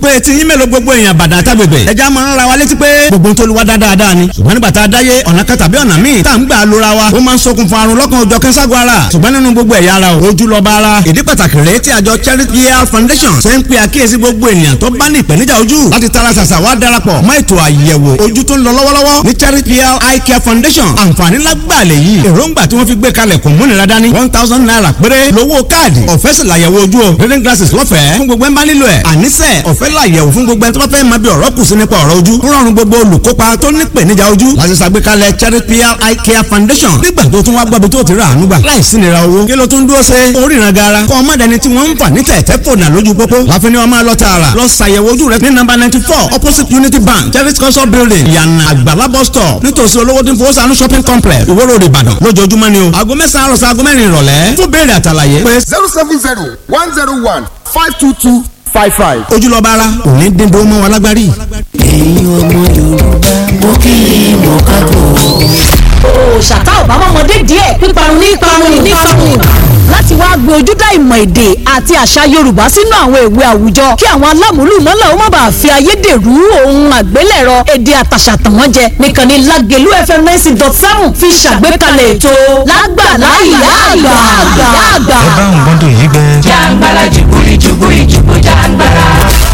Pé tí yín mélòó gbogbo èèyàn bàdà tágbègbè ẹja máa ń ra wa létí pé gbogbo tó lu wa dáadáa ni, ṣùgbọ́n nígbà tá a dáyé ọ̀nà kan tàbí ọ̀nà míì tá à ń gbà lóra wa, ó máa ń ṣokùnfà àrùn lọ́kàn òjọ̀ kẹ́sàgọ́ ara. Ṣùgbọ́n nínú gbogbo ẹ̀yà ara, ojú lọ́ba ara. Ìdí pàtàkì rèé tí àjọ Charity Health Foundation ṣe ń pe àkíyèsí gbogbo ènìyàn tó bá ní ìpèníjà ojú láti tara ṣàṣà wá darapọ̀ mọ́ ètò àyẹ̀wò ojú tó ń lọ lọ́wọ́lọ́wọ́ ní Charity Health Eye Care Foundation. Àǹfààní lágbàlẹ̀ yìí, èròǹgbà tí wọ́n fi gbé kalẹ̀ kò múnira dání. ₦1,000 péré lówó káàdì, ọ̀fẹ́ sì làyẹ̀wò ojú o. Reading glasses lọ́fẹ̀ẹ́ fún gbogbo ẹ̀ ń bá nílò ẹ̀. Àníṣe ọ̀fẹ́ làyẹ̀wò fún gbogbo ẹ̀ tó bá fẹ́ máa bí ọ̀rọ̀ kù sí nípa ọ̀rọ̀ ojú. Rọrùn gbogbo olùkópa tó ní ìpèníjà ojú láti ṣàgbékalẹ̀ Charity Eye Care Foundation. Nígbà tó tún wá gbọ́bi tó ti rà àánú gbà láìsí nira owó, kí ló tún dúró ṣe oríran gara? Kọ́ ọmọdéni tí wọ́n ń fà ní tẹ̀tẹ̀ fònà lójú pópó láfi ni wọ́n máa lọ tààrà lọ ṣàyẹ̀wò ojú rẹ ní nọ́mbà 94, opposite Unity Bank, Charity Culture Building, Ìyànà Àgbàlá bus stop, nítòsí olówó tí ń fowó sànú shopping complex, Ìwó Road, Ìbàdàn, lójoojúmọ́ ni o. Aago 9 àárọ̀ sí aago 4 ìrọ̀lẹ́. Fún béèrè àtàlàyé pé 070 101 522 55. Ojúlọ́ba ara kò ní dín dúró mọ́ wa lágbárí. Ẹ̀yin ọmọ Yorùbá, mo kí i mo kábọ̀. Òòṣà tá ò bá mọ́mọdé díẹ̀, píparun ní parun ní parun. Láti wá gbé ojúdá ìmọ̀ èdè àti àṣà Yorùbá sínú àwọn ìwé àwùjọ, kí àwọn alámúlùmọ́là ó má bàa fi ayédèrú ohun àgbélẹ̀rọ èdè àtàṣà tàn wọ́n jẹ nìkan ní Lágelú FM 90.7 fi ṣàgbékalẹ̀ ètò Lágbàlá Ìyá Àgbà. Ẹ bá ń gbọ́dọ̀ yí gbẹ. Jàǹgbàlà jùbúrí jùbúrí jùbú jàǹgbàlà.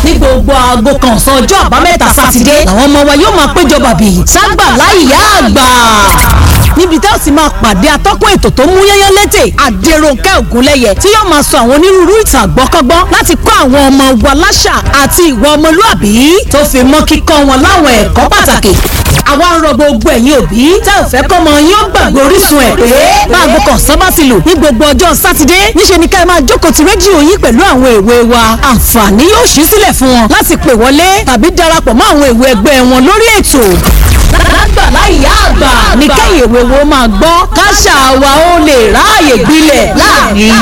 Ní gbogbo aago kan ọ̀sán ọjọ́ àbámẹ́ta Sátidé làwọn ọmọ wa yóò máa péjọ bàbí ságbàlá Ìyá Àgbà, níbi tá a sì máa pàdé atọ́kùn ètò tó mú yányán létè, Àdèròǹkẹ́ Ògúnlẹ́yẹ, tí yóò máa sọ àwọn onírúurú ìtàn àgbọ́kọ́gbọ́n láti kọ́ àwọn ọmọ wa láṣà àti ìwà ọmọlúàbí, tó fi mọ́ kíkọ́ wọn láwọn ẹ̀kọ́ pàtàkì. Àwa ń rọ gbogbo ẹ̀yin òbí tá ò fẹ́ kọ́mọ yín ó gbàgbé orísun ẹ̀ pé báago kan sábà ti lù ní gbogbo ọjọ́ Sátidé, níṣe ni ká ẹ máa jókòó ti rédíò yín pẹ̀lú àwọn èwe wa. Àǹfààní yóò ṣí sílẹ̀ fún wọn láti pè wọlé tàbí darapọ̀ mọ́ àwọn èwe ẹgbẹ́ wọn lórí ètò. Lágbàlá Ìyá Àgbà ní kẹ́yìn èwe wo máa gbọ́, káṣà wa ó lè ráàyè gbilẹ̀ láàrin.